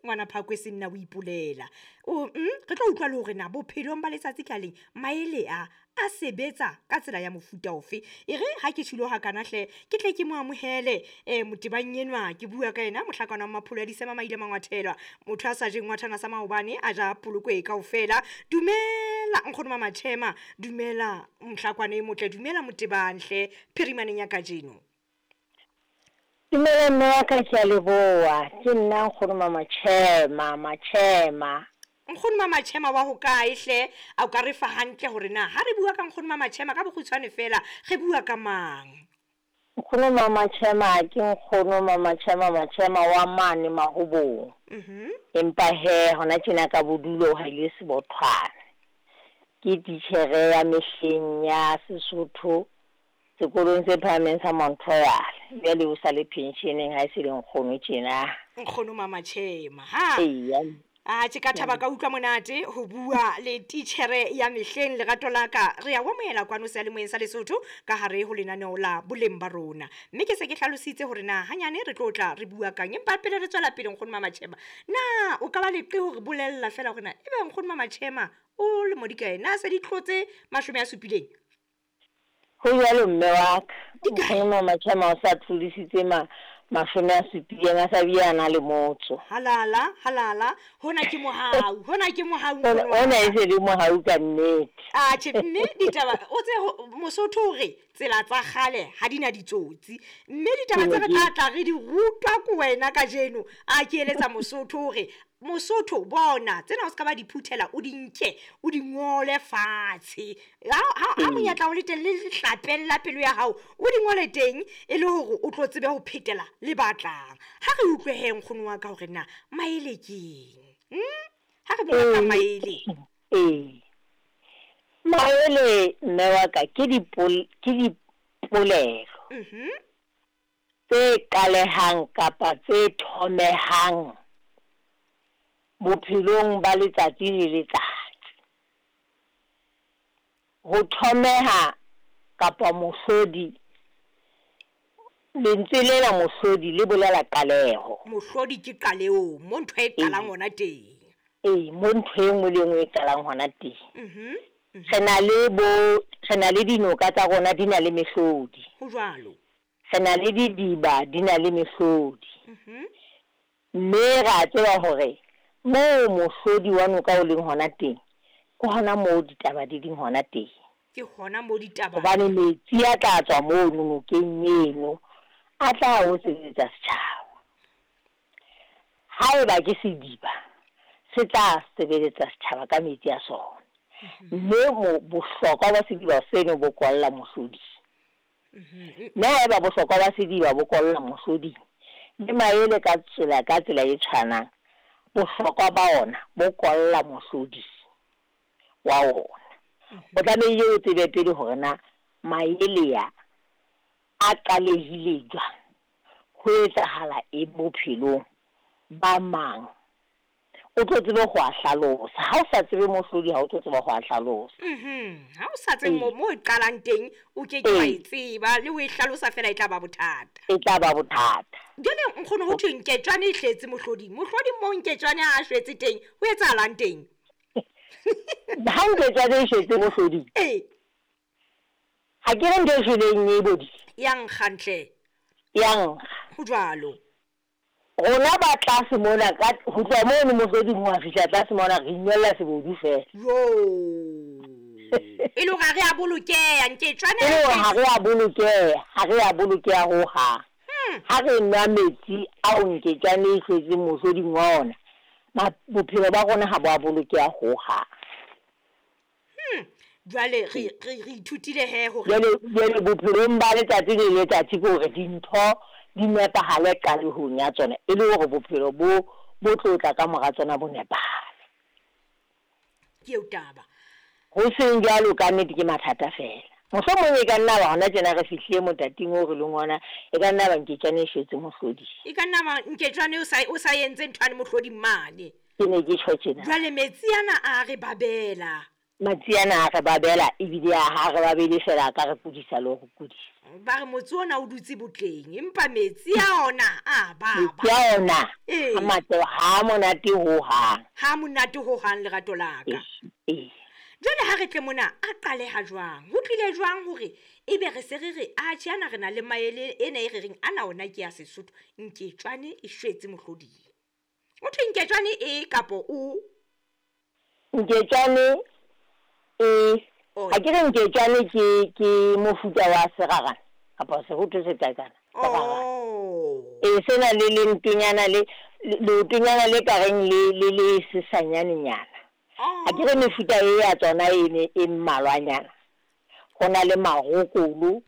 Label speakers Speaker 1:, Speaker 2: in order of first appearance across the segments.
Speaker 1: Ngwana Phakwe senna o ipolela. O re tlo utlwa le hore na bophelong ba letsatsi ka leng maele a a sebetsa ka tsela ya mofuta ofe. E re ha ke tjhilo hakana hle, ke tle ke mo amohele motebang enwa. Ke bua ka yena mohlakana wa Mapholo a Disema Maile Mangwathela, motho a sa jeng ngwathana sa maobane, a ja polokwe kaofela. Dumela nkgono Mamatjhema, dumela mohlakwana e motle, dumela motebang hle phirimaneng ya kajeno.
Speaker 2: Dumela mme wa ka, ke a leboha. Ke nna nkgono Mamatjhema, Matjhema.
Speaker 1: Nkgono Mamatjhema wa hokae hle? A o ka re fa hantle hore na ha re bua ka nkgono Mamatjhema ka bokgutshwane fela re bua ka mang?
Speaker 2: Nkgono Mamatjhema ke nkgono Mamatjhema Matjhema wa mane Mahobong. Empa he hona tjena ka bodulo ha ile Sebothwane. Ke titjhere ya mehleng ya Sesotho sekolong se phahameng sa Mount Royal. Jwale o sa le pensioneng ha e se le nkgono tjena.
Speaker 1: Nkgono Mamatjhema, ha?
Speaker 2: Eya.
Speaker 1: Atjhe, ka thaba ka utlwa monate ho bua le titjhere ya mehleng. Lerato la ka re ya o amohela kwano seyalemoyeng sa Lesotho ka hare ho lenaneo la Boleng ba Rona. Mme ke se ke hlalositse hore na hanyane re tlo tla re bua kang, empa pele re tswela pele nkgono Mamatjhema, na o ka ba leqe hore bolella fela hore na ebe nkgono Mamatjhema o lemo di kae? Na se di tlotse 70?
Speaker 2: Ho jwalo mme wa ka. Nkgono Mamatjhema o sa tlodisitse 70, a sa bile a na le motso.
Speaker 1: Halala, halala, hona ke mohau, hona ke mohau nkgono wa
Speaker 2: Hona
Speaker 1: ka.
Speaker 2: e se le mohau ka nnete.
Speaker 1: Atjhe, mme ditaba o tse Mosotho o re tsela tsa kgale ha di na ditsotsi. Mme ditaba tse re tla tla re di rutwa ke wena kajeno. A ke eletsa Mosotho hore Mosotho bona tsena o ska ba di phuthela, o di nke, o di ngole fatshe. Ha monyetla o le teng le lehlapeng la pelo ya hao, o di ngole teng e le hore o tlo tsebe ho phetela le batlang. Ha re utlwe he nkgono wa ka hore na maele keng. Ha re bua ka maele.
Speaker 2: Ee. Maele mme wa ka ke dipolelo. Tse qalehang kapa tse thomehang bophelong ba letsatsi le letsatsi. Ho thomeha kapa mohlodi, lentswe lena mohlodi le bolela qaleho.
Speaker 1: Mohlodi ke qaleho, mo ntho e qalang hona teng.
Speaker 2: Ee, mo ntho e nngwe le nngwe e qalang hona teng. Re na le bo, re na le dinoka tsa rona di na le mehlodi.
Speaker 1: Ho jwalo.
Speaker 2: Re na le didiba di na le mehlodi. Mme ra tseba hore moo mohlodi wa noka o leng hona teng, ke hona moo ditaba di leng hona teng.
Speaker 1: Ke hona moo ditaba.
Speaker 2: Hobane metsi a tla tswa mono nokeng eno, a tla o sebetsa setjhaba. Haeba ke sediba, se tla sebeletsa setjhaba ka metsi a sona. Mme bohlokwa ba sediba seno bo kwalla mohloding. Mme haeba bohlokwa ba sediba bo kwalla mohloding, le maele ka tsela e tshwanang, bohlokwa ba ona bo kwalla mohloding wa ona. O tlamehile o tsebe pele hore na maele a qalehile jwang, ho etsahala eng bophelong ba mang, o tlo tsebe ho a hlalosa. Ha o sa tsebe mohlodi, ha o tlo tseba ho a hlalosa.
Speaker 1: Ha o sa tsebe mo e qalang teng, o ke ke wa e tseba, le ho e hlalosa fela e tla ba bothata.
Speaker 2: E tla ba bothata.
Speaker 1: Jwale nkgono ho thwe nketjwane e hletse mohloding. Mohloding moo nketjwane a shwetse teng, ho etsahalang teng?
Speaker 2: Ha nketjwane e shwetse mohloding.
Speaker 1: Ee.
Speaker 2: Ha ke re ntho e shweleng e bodile.
Speaker 1: Ya nkga ntle.
Speaker 2: Ya nkga.
Speaker 1: Ho jwalo.
Speaker 2: Rona ba tlase mona, ka ho tloha mono mohloding ho fihla tlase mona, re inwella sebodu fela.
Speaker 1: Jo. E le hore ha re a bolokeha, nketjwane
Speaker 2: E le hore ha re a bolokeha, ha re a bolokeha hohang. Ha re nwa metsi ao nketjwane e hlwetseng mohloding wa ona, bophelo ba rona ha bo a bolokeha hohang.
Speaker 1: Jwale re ithutile he hore
Speaker 2: Jwale bophelong ba letsatsi le letsatsi ke hore dintho di nepahale qalehong ya tsona, e le hore bophelo bo tlo tla ka mora tsona bo nepahale.
Speaker 1: Ke eo taba.
Speaker 2: Ho seng jwalo ka nnete ke mathata fela. Mohlomong e ka nna ba hona tjena re fihlile motating oo re leng ona, e ka nna ba nketjwane e shwetse mohloding.
Speaker 1: E ka nna ba nketjwane o sa entse nthwane mohloding mane.
Speaker 2: Ke ne ke tjho tjena.
Speaker 1: Jwale metsi ana a re babela.
Speaker 2: Matsiana a re babela ebile a ha re babele fela a ka re kudisa le ho re kudisa.
Speaker 1: Ba re motse ona o dutse botleng empa metsi a ona a baba.
Speaker 2: Metsi a ona a matle ha a monate hohang.
Speaker 1: Ha a monate hohang lerato la ka.
Speaker 2: Ee.
Speaker 1: Jwale ha re tle mona a qaleha jwang? Ho tlile jwang hore ebe re se re re atjhe ana re na le maele ena e re reng ana ona ke ya Sesotho nketjwane e shwetse mohloding. Ho thwe nketjwane e kapo o?
Speaker 2: Nketjwane e ha ke re nketjwane ke ke mofuta wa serarana kapa sehotho se qaqana.
Speaker 1: Oh.
Speaker 2: E sena le lentonyana le leotonyana le ka reng le le le sesanyanenyana. Ha ke re mefuta e ya tsona e ne e mmalwanyana. Ho na le marokolo,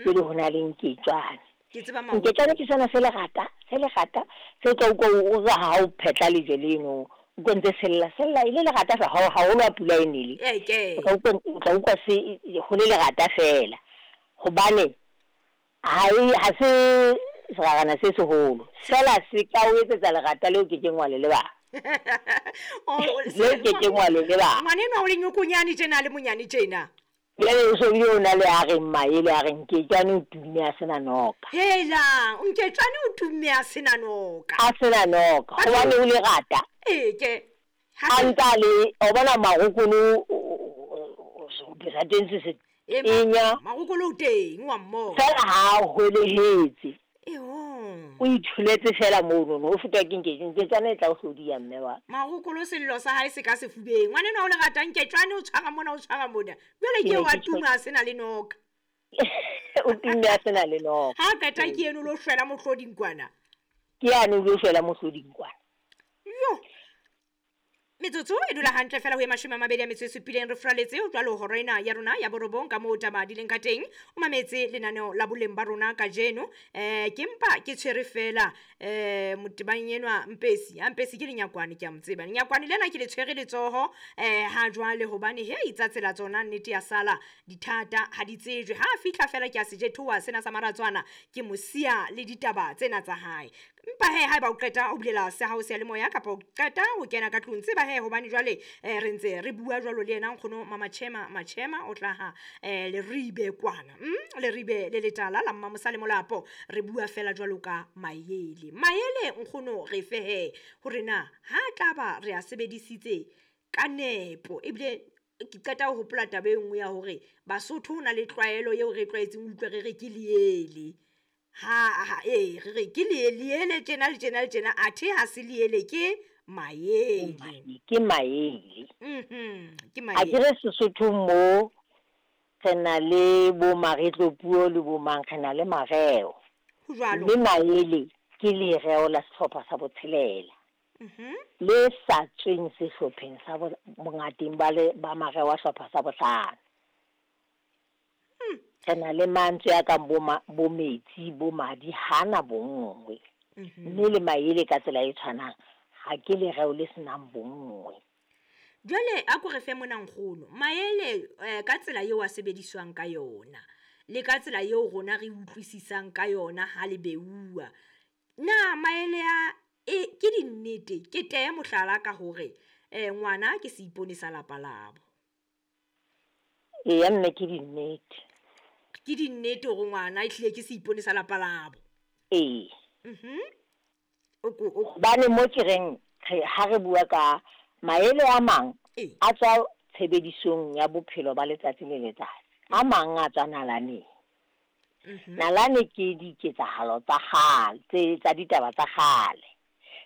Speaker 2: pele ho na le nketjwane.
Speaker 1: Ke tseba marokolo.
Speaker 2: Nketjwane ke sona se lerata, se lerata, se tla utlwa o re ha o phetla lejwe leno, utlwa ntse sella, sella e le lerata fela haholo ha pula e nele.
Speaker 1: Eke.
Speaker 2: O tla utlwa, o tla utlwa se ho le lerata fela. Hobane ha e ha se serarana se seholo. Fela se ka o etsetsa lerata leo ke keng wa le lebala. Leo ke keng wa le lebala.
Speaker 1: Ngwanenwa o le nyokonyane tjena le monyane tjena.
Speaker 2: Jwale o so bile o na le a reng maele a reng Nketjwane o tumme a sena noka.
Speaker 1: Hela, Nketjwane o tumme a sena noka.
Speaker 2: A sena noka, hobane o lerata.
Speaker 1: Eke.
Speaker 2: A ntsa le, o bona marokolo sa teng se se tenya.
Speaker 1: Marokolo o teng wa mmona.
Speaker 2: Fela ha a hwelehetse.
Speaker 1: Eho.
Speaker 2: O itholetse fela mono, o fetwa ke Nketjwane e tla o hlodiya mme wa.
Speaker 1: Marokolo sello sa hae se ka sefubeng. Ngwanenwa o lerata Nketjwane o tshwara mona o tshwara mona. Jwale ke wa tuma a sena le noka.
Speaker 2: O tumme a sena le noka.
Speaker 1: Ha qeta ke eno lo shwela mohloding kwana.
Speaker 2: Ke yane o lo shwela mohloding kwana.
Speaker 1: Yo. Metsotso e dula hantle fela ho e 27 re furaletse jwalo hora ena ya rona ya borobong ka moo taba di leng ka teng. O mametse lenaneo la boleng ba rona kajeno. Ke mpa ke tshwere fela motebang enwa Mpesi. Ha Mpesi ke lenyakwane ke a mo tseba. Lenyakwane lena ke le tshwere letsoho ha jwale hobane hei tsa tsela tsona nnete ya sala dithata ha di tsejwe. Ha fihla fela ke a sejethoa sena sa maratswana ke mosia le ditaba tsena tsa hae. Mpa he haeba o qeta o bulela se hao seyalemoya kapa o qeta ho kena ka tlung tseba he hobane jwale re ntse re bua jwalo le yena nkgono Mama Machema o tlaha Leribe kwana. Leribe le letala la Mmamosa le Molapo re bua fela jwalo ka maele. Maele nkgono re fe he hore na ha tlaba re a sebedisitse ka nepo ebile ke qeta ho hopola taba e nngwe ya hore Basotho ho na le tlwaelo eo re tlwaetseng utlwe re re ke leele. Ha re re ke leele tjena le tjena le tjena athe ha se leele ke maele.
Speaker 2: Ke maele.
Speaker 1: Ke maele.
Speaker 2: A ke re Sesotho mo re na le bo maretlopuo le bo mang re na le mareo.
Speaker 1: Ho jwalo.
Speaker 2: Mme maele ke lereo la sehlopha sa botshelela. Le sa tsweng sehlopheng sa bongateng ba le ba mareo a sehlopha sa bohlano. Re na le mantswe a kang bo metsi, bo madi, hana bonngwe. Mme le maele ka tsela e tshwanang ha ke lereo le senang bonngwe.
Speaker 1: Jwale a ko re fe mona nkgono, maele ka tsela eo a sebediswang ka yona le ka tsela eo rona re utlwisisang ka yona ha le beuwa. Na maele a ke dinnete? Ke teye mohlala ka hore ngwana ke seipone sa lapa labo.
Speaker 2: Eya mme ke dinnete.
Speaker 1: Ke dinnete hore ngwana e hlile ke seipone sa lapa labo.
Speaker 2: Ee. Hobane mo ke reng ha re bua ka maele a mang a tswa tshebedisong ya bophelo ba letsatsi le letsatsi. A mang a tswa nalaneng. Nalane ke diketsahalo tsa kgale, tsa ditaba tsa kgale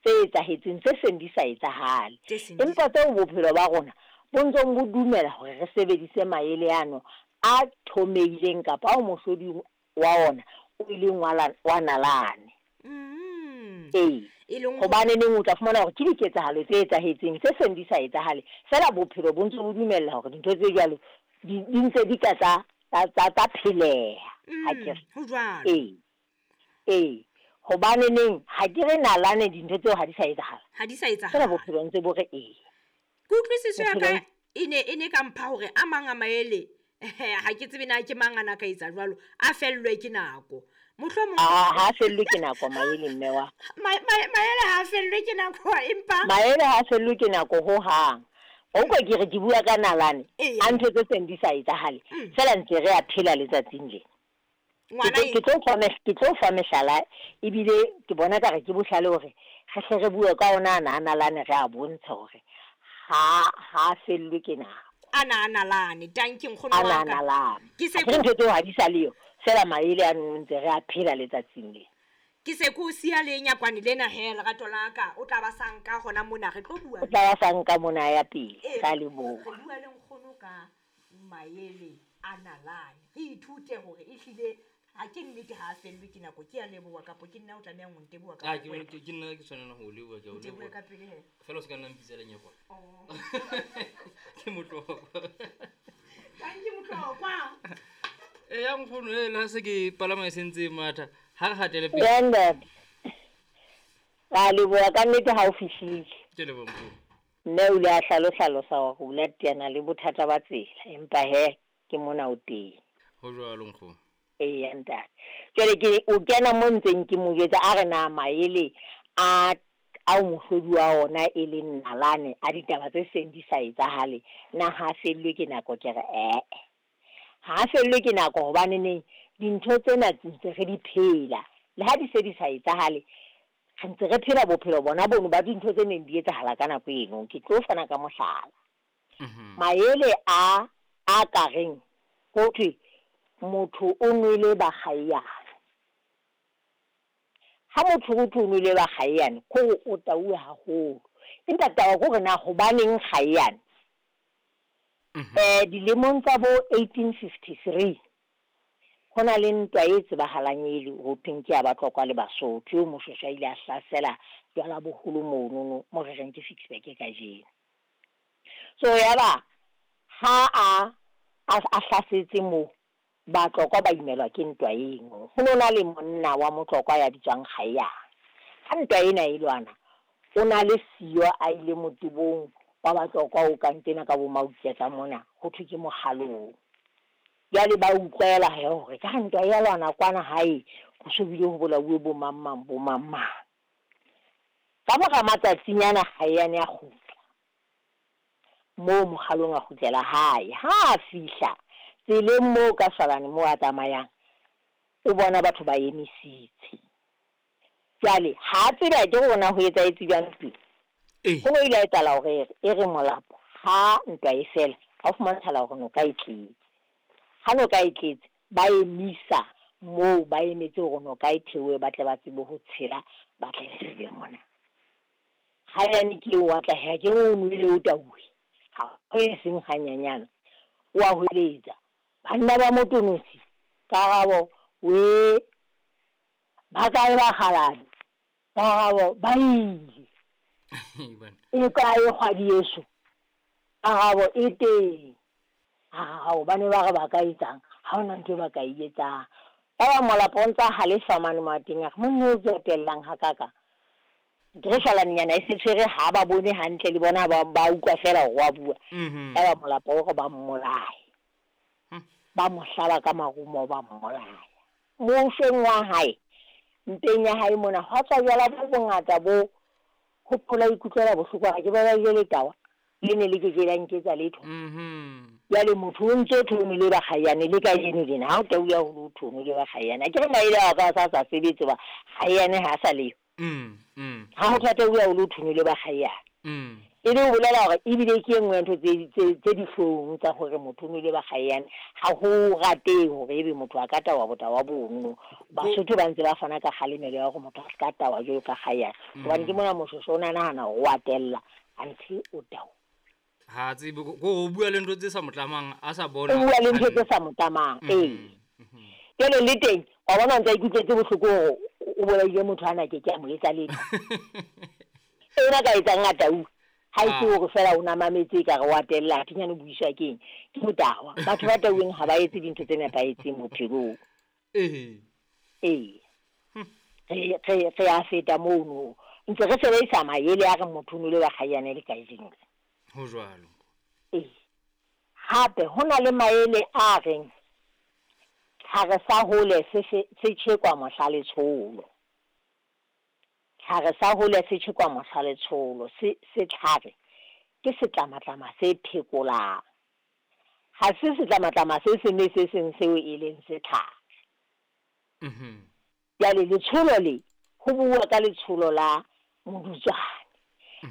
Speaker 2: tse etsahetseng tse seng di sa etsahale. Empa tseo bophelo ba rona bo ntsong bo dumela hore re sebedise maele ano a thomeileng kapa ao mohlodi wa ona o ileng wa nalane. Ee. Hobane neng o tla fumana hore ke diketsahalo tse etsahetseng tse seng di sa etsahale. Fela bophelo bo ntse bo dumella hore dintho tse jwalo di ntse di ka tsa pheleha. Ha ke re.
Speaker 1: Ho jwalo.
Speaker 2: Ee. Ee. Hobane neng ha ke re nalane dintho tseo ha di sa etsahala.
Speaker 1: Ha di sa etsahala.
Speaker 2: Fela bophelo ntse bo re ee.
Speaker 1: Kutlwisiso ya ka e ne ka mpha hore a mang a maele ha ke tsebe na ke mang ana ka etsa jwalo a fellwe ke nako. Mohlomong
Speaker 2: ha fellwe ke nako maele mme wa.
Speaker 1: Maele ha fellwe ke nako empa
Speaker 2: maele ha fellwe ke nako ho hang. O utlwa ke re ke bua ka nalane,
Speaker 1: Eya.
Speaker 2: a ntho tse seng di sa etsahale,
Speaker 1: Mm.
Speaker 2: fela ntse re a phela letsatsing lena. Ke
Speaker 1: Ngwana
Speaker 2: tlo
Speaker 1: e
Speaker 2: ke tlo fa ke tlo fa mehlala ebile ke bona ka re ke bohlale hore re hle re bue ka ona ana a nalane re a bontshe hore ha ha fellwe ke nako.
Speaker 1: Ana a nalane, tanki nkgono
Speaker 2: Ana
Speaker 1: wa
Speaker 2: a
Speaker 1: ka.
Speaker 2: nalane.
Speaker 1: Ke se
Speaker 2: Akere ntho tseo ha di sa leyo, fela maele ano ntse re a phela letsatsing lena.
Speaker 1: Ke se ko siya le nyakwane lena he lerato la ka, o tla ba sa nka hona mona re tlo bua.
Speaker 2: O tla ba sa nka mona ya pele,
Speaker 1: Ee,
Speaker 2: ka leboha.
Speaker 1: Re bua le nkgono ka maele a nalane. Re ithute hore ehlile ha ke nnete ha a fellwe ke nako, ke a leboha kapo ke nna o tlamehang ho nteboha ka
Speaker 3: Ah, ke
Speaker 1: wena.
Speaker 3: ke ke nna ke tshwanela ho o leboha, ke a o
Speaker 1: Ntebohe
Speaker 3: leboha.
Speaker 1: ka pele he.
Speaker 3: Fela o se ka nna mpitsa lenyekwane.
Speaker 1: Oh.
Speaker 3: Ke motlokwa.
Speaker 1: Tanki motlokwa.
Speaker 3: Eya nkgono, e le ha se ke palama e sentse e matha, ha re hatele pele.
Speaker 2: Ya ntate. Ra leboha ka nnete ha o fihlile.
Speaker 3: Ke leboha nkgono.
Speaker 2: Mme o ile a hlalohlalosa hore o ile a teana le bothata ba tsela, empa he ke mona o teng.
Speaker 3: Ho jwalo nkgono.
Speaker 2: Eya ntate. Jwale ke o kena mo ntseng ke mo jwetsa a re na maele a ao mohlodi wa ona e leng nalane a ditaba tse seng di sa etsahale, na ha fellwe ke nako? Ke re ee, ha fellwe ke nako hobaneneng dintho tsena ntse re di phela, le ha di se di sa etsahale re ntse re phela bophelo bona bono ba dintho tse neng di etsahala ka nako eno. Ke tlo fana ka mohlala.
Speaker 3: Mhm.
Speaker 2: Maele a a ka reng ho thwe motho o nwele bakgaeyane. Ha motho ho thwe o nwele bakgaeyane, ke hore o tauwe haholo. Empa taba ke hore na hobaneng kgaeyane?
Speaker 3: Mhm.
Speaker 2: Dilemong tsa bo 1853 ho na le ntwa e tsebahalang e le ho thweng ke ya Batlokwa le Basotho, eo Moshweshwe a ile a hlasela jwala boholo monono mo re reng ke Ficksburg kajeno. So yaba ha a a hlasetse moo, Batlokwa ba imelwa ke ntwa eno. Ho no na le monna wa Motlokwa ya bitswang Kgaeyane. Ha ntwa ena e lwana, o na le siyo a ile motebong wa Batlokwa o kang tena ka bo Mauketla mona, ho thwe ke Mokgalong. Jwale ba utlwela he hore ka ntwa ya lwana kwana hae, ho so bile ho bolauwe bo mang mang bo mang mang. Ka mora matsatsinyana Kgaeyane a kgutla moo Mokgalong, a kgutlela hae. Ha a fihla tseleng moo ka Shwalane moo a tsamayang, o bona batho ba emisitse. Jwale ha a tsebe akere hore na ho etsahetse jwang ntweng.
Speaker 3: Ee.
Speaker 2: Ho no ile ha etsahala hore e re molapo ha ntwa e fela, ha o fumantshala hore noka e tletse. Ha noka e tletse, ba emisa moo ba emetse hore noka e theohe ba tle ba tsebe ho tshela, ba tle re mona. Kgaeyane ke eo wa tla he, akere o nwele o tauwe, ha ho e seng hanyanyana. O a hweletsa, banna ba Motonosi, karabo we, ba kae bakgalajwe? Karabo ba ile.
Speaker 3: Bana.
Speaker 2: E kae kgwadi yeso? Karabo e teng. Ao, ba ne ba re ba ka etsang? Ha hona ntho e ba ka e etsang. Yaba molapo o ntsa halefa mane mo a teng, a re monna eo ke otellang hakaka. Ke re shwalanenyana e se tshwere ha ba bone hantle le bona ba ba utlwa fela hore wa bua.
Speaker 3: Mhm.
Speaker 2: Yaba molapo o re ba mmolaye.
Speaker 3: Hmm.
Speaker 2: Ba mo hlaba ka marumo ba mmolaya. Moshweng wa hae, mpeng ya hae mona, hwa tswa jwala bo bongata bo hopola ikutlwela bohloko hore ke ba ba jele tawa, le ne le ke ke la nketsa letho.
Speaker 3: Mhm.
Speaker 2: Jwale motho o ntso thwe o nwele bakgaeyane le kajeno lena, ha o tauwe haholo ho thwe o nwele bakgaeyane. Akere maele ao ka sa sa sebetse hoba kgaeyane ha a sa leyo.
Speaker 3: Mm, mm.
Speaker 2: Ha ho thata o haholo ho thwe o nwele bakgaeyane.
Speaker 3: Mm.
Speaker 2: E le ho bolela hore ebile ke e nngwe ya ntho tse tse dihlong tsa hore motho o nwele bakgaeyane. Ha ho ratehe hore ebe motho a ka tawa botawa bono. Basotho ba ntse ba fana ka kgalemelo ya hore motho a ska tawa jwalo ka kgaeyane. Hobane ke mona Moshweshwe o na nahana hore wa tella, anthe o tawa.
Speaker 3: Ha tsebe ko o bua le ntho tse sa mo tlamang, a sa bona.
Speaker 2: O bua le ntho tse sa mo tlamang, ee.
Speaker 3: Mhm.
Speaker 2: Jwale le teng, wa bona o ntsa ikutlwetse bohloko hore o bolaile motho ana ke ke a mo etsa letho. Ena ka etsang a tauwe. Ha e se
Speaker 3: Ah.
Speaker 2: hore fela o na mametse ekare wa tella, athe nyane o buiswa ke eng? Ke botawa. Batho ba tauweng ha ba etse dintho tse nepahetseng bophelong.
Speaker 3: Ee.
Speaker 2: Ee. Re re re a feta mono. Ntse re sebedisa maele a re motho o nwele bakgaeyane le kajeno.
Speaker 3: Ho jwalo.
Speaker 2: Ee. Hape ho na le maele a reng tlhare sa hole se se tjhekwa mohla letsholo. Tlhare sa hole se tjhekwa mohla letsholo, se setlhare Ke setlamatlama se phekolang. Ha se setlamatlama se seng le se seng seo e leng setlhare. Jwale letsholo le, ho buuwa ka letsholo la modutswane.